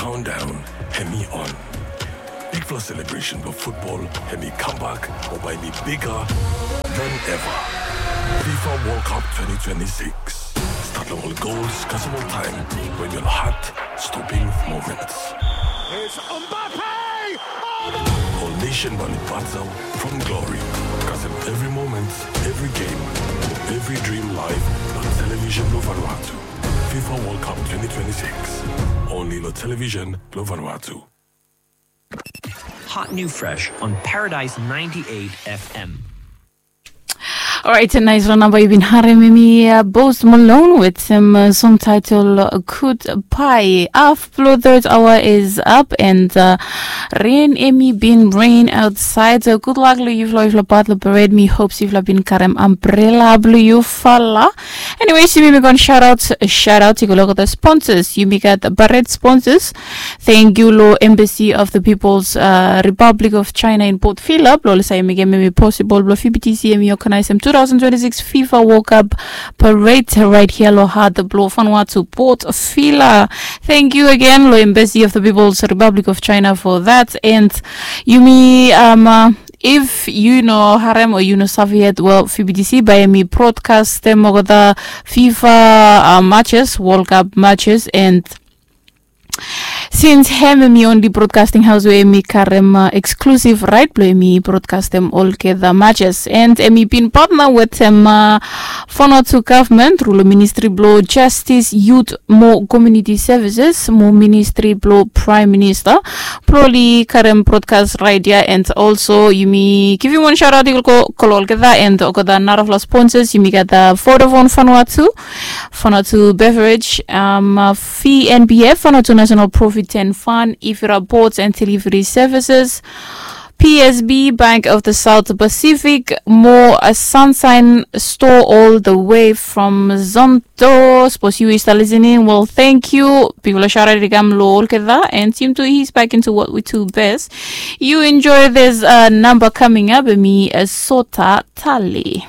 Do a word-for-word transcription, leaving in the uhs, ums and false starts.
Countdown hemi on. Bigfala celebration blong football hemi comeback, mo bae hemi bigger than ever. FIFA World Cup twenty twenty-six. Start long ol goals kasem ol taem, wen ol heart-stopping moments. It's Mbappe! Oh, my Ol nation bae oli batal from glory. Kasem evri moment, evri game, evri dream live long television blong Vanuatu. FIFA World Cup twenty twenty-six. Only long television blong Vanuatu. Hot new fresh on Paradise ninety-eight F M. Alright, naes long namba yu bin harem hemi, uh, Post Malone wetem, uh, song title, uh, Goodbye. Haf blong third hour is up and, uh, rain hemi bin rain outside. So good luck long yufala, yufala part long parade. Mi hope se yufala bin karem umbrella blong yufala. Anyways, yumi mekem wan shout out, shout out i go long olgeta sponsors. Yumi gat parade sponsors. Thank you long Embassy of the People's, uh, Republic of China in Port Vila blong oli save mekem hemi possible blong V B T C hemi organizem two thousand twenty-six FIFA World Cup parade right here long heart blong Vanuatu, Port Vila. Thank you again long Embassy of the People's Republic of China for that. And yumi, um, uh, if yu no harem o yu no save yet, well, V B T C bae hemi broadcastem olgeta FIFA, uh, matches, World Cup matches, and since hem hemi only broadcasting house we hemi karem, uh, exclusive right blong hemi broadcastem olgeta matches, and hemi bin partner wetem, uh, Vanuatu government, rural ministry blong Justice, Youth mo Community Services mo ministry blong Prime Minister blong oli karem broadcast right ia. And also yumi givim wan shout out i go long olgeta and olgeta narafala sponsors. Yumi gat, uh, Vodafone Vanuatu, Vanuatu Beverage, um, uh, V N P F, Vanuatu National Provident Fund, Ivira Ports and Delivery Services, P S B, Bank of the South Pacific, mo, uh, Sunshine Store all the way from Zonto. Sapos yu i stap listening, well, thank you. Bigfala shout out i kam long olgeta, and Team Two East back into what we do best. You enjoy this, uh, number coming up, hemi, uh, Sota Tale.